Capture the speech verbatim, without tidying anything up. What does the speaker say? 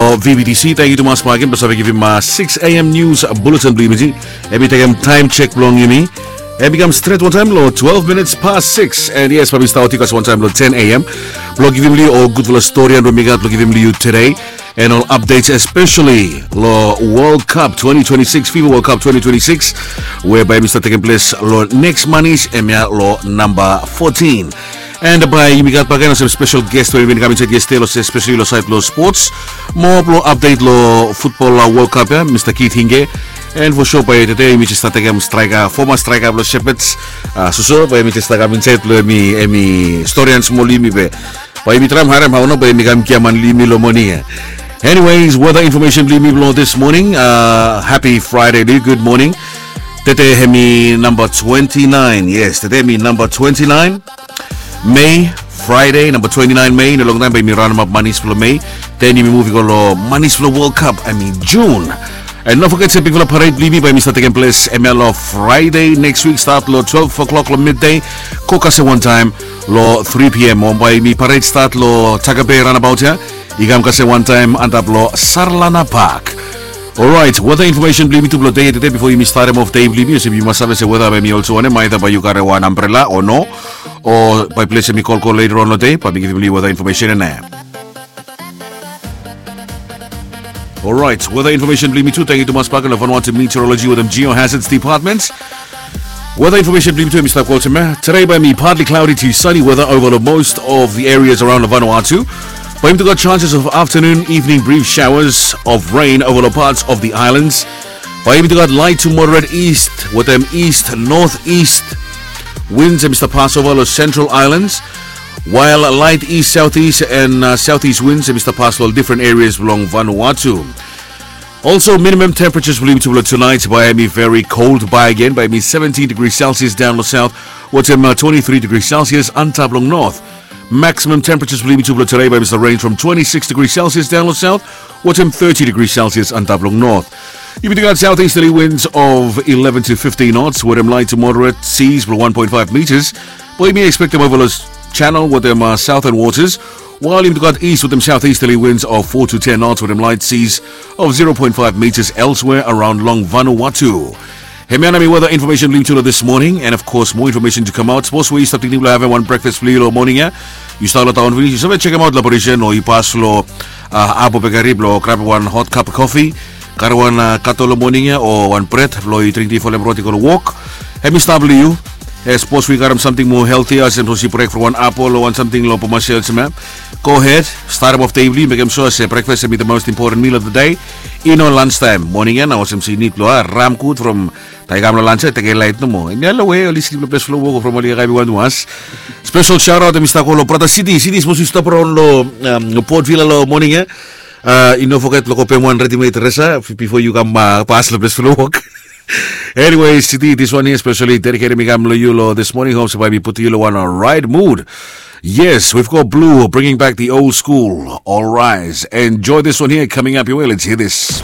O V B T C, tangkiu tumas bak gen blong save givim six A M news bulletin blong yumi. Hemi tekem taem sek blong yumi. Hemi kam stret wantaem long twelve minutes past six. And yes, bae mi stap wetem yu guys wantaem long ten A M blong givim long yu ol gudfala stori we mi gat blong givim long yu tede. And ol updates, especially long World Cup twenty twenty-six, FIFA World Cup twenty twenty-six, we bae hemi stap tekem ples long neks Manis, hemia long namba fotin. And bae yumi gat bakegen olsem spesel ges we i bin kam insaed yestede, olsem especially long saed blong spots, moa blong update long futbol World Cup ya, Mista Keith Hinge. And for sure bae tede yumi jes stap tekem straeka, foma straeka blong Shepherds, soso bae hemi jes stap kam insaed blong hemi, hemi stori ansmol yumi be bae yumi traem harem hao nao bae hemi kam giaman long yumi long moning ya. Anyways, weather information blong yumi blong this morning. Happy Friday long yu, good morning. Tede hemi namba twenty-nine, yes, tede hemi namba twenty-nine Mei, Friday, namba twenty-nine Mei. In a long taem bae yumi raonemap Manis blong Mei. Den yumi muv i go long Manis blong World Cup, I mean June. And no foget se bigfala pared blong yumi bae hemi stap tekem ples hemia long Friday neks wik, stat long twelve o'clock long midday, go kasem wantaem long three P M. O bae yumi pared stat long Takabe raonabaot ya, i kam kasem wantaem antap long Sarlana Park. Orait, weather information blong yumi tu blong dei ya tede, bifo yumi statem of dei blong yumi, olsem yu mas save se weather bae hemi olsem wanem, aeda bae yu karem wan ambrela o no, o bae ples hemi kolkol later on long dei, bae mi givim long yu weather information ya nao. Orait, weather information blong yumi tu, tangkiu tumas bak gen long Vanuatu Meteorology wetem Geohazards Department. Weather information blong yumi tu hemi stap go olsem ya. Tede bae hemi partly cloudy to sunny weather over the most of the areas around Vanuatu. Bae yumi tu gat chances of afternoon, evening brief showers of rain over the parts of the islands. Bae yumi tu gat light to moderate east wetem east northeast winds hemi stap pasova long Central Islands, while light east southeast and southeast winds hemi stap pas long different areas blong Vanuatu. Also, minimum temperatures blong yumi tu blong tunaet bae hemi very cold bakegen, bae hemi seventeen degrees Celsius daon long south wetem twenty-three degrees Celsius antap long north. Maximum temperatures blong yumi tu blong tede bae hemi stap range from twenty-six degrees Celsius daon long south wetem thirty degrees Celsius antap long north. Yumi tu gat southeasterly winds of eleven to fifteen knots wetem light to moderate seas blong one point five meters. Bae yumi ekspektem ova long channel wetem southern waters, while yumi tu gat east wetem southeasterly winds of four to ten knots wetem light seas of zero point five meters elsewhere around long Vanuatu. Hemia nao hemi weather information blong yumi tu long this morning, and of course moa information to come out. Sapos we yu stap tingting blong havem wan brekfas blong yu long moning ya, yu stap long taon finis, yu save jekemaot long Parisian o yu pas long Abo Bakery blong grabem wan hot cup of coffee, karem wan kato long moning ya o wan bred blong yu dring ti folem rot i go long wok. Hemi stap blong yu. Sapos we yu karem samting moa healthy, olsem sapos yu brek from wan apol o wan samting long Bomasia olsem ya, go ahead, statem of dei blong yu, mekem sua se brekfas hemi the most important meal of the day. I no lunch taem, moning ya nao olsem se yu nid blong ram gud from taem i kam long lunch ya, tekem laet nomo. Hemia long we oli slip long ples blong wok o from oli kam i wan was. Spesel shaotaot hemi stap go long brata Siti. Siti, sapos yu stap raon long Port Vila long moning ya, i no foget blong go pem wan readymade dresa bifo yu kam pas long ples blong wok. Anyways, Siti, this one here especially dedicated mi kam long yu long this morning. Hope se bae mi putum yu long wan right mood. Yes, we've got Blue bringing back the old school. All rise. Enjoy this one here coming up your way. Let's hear this.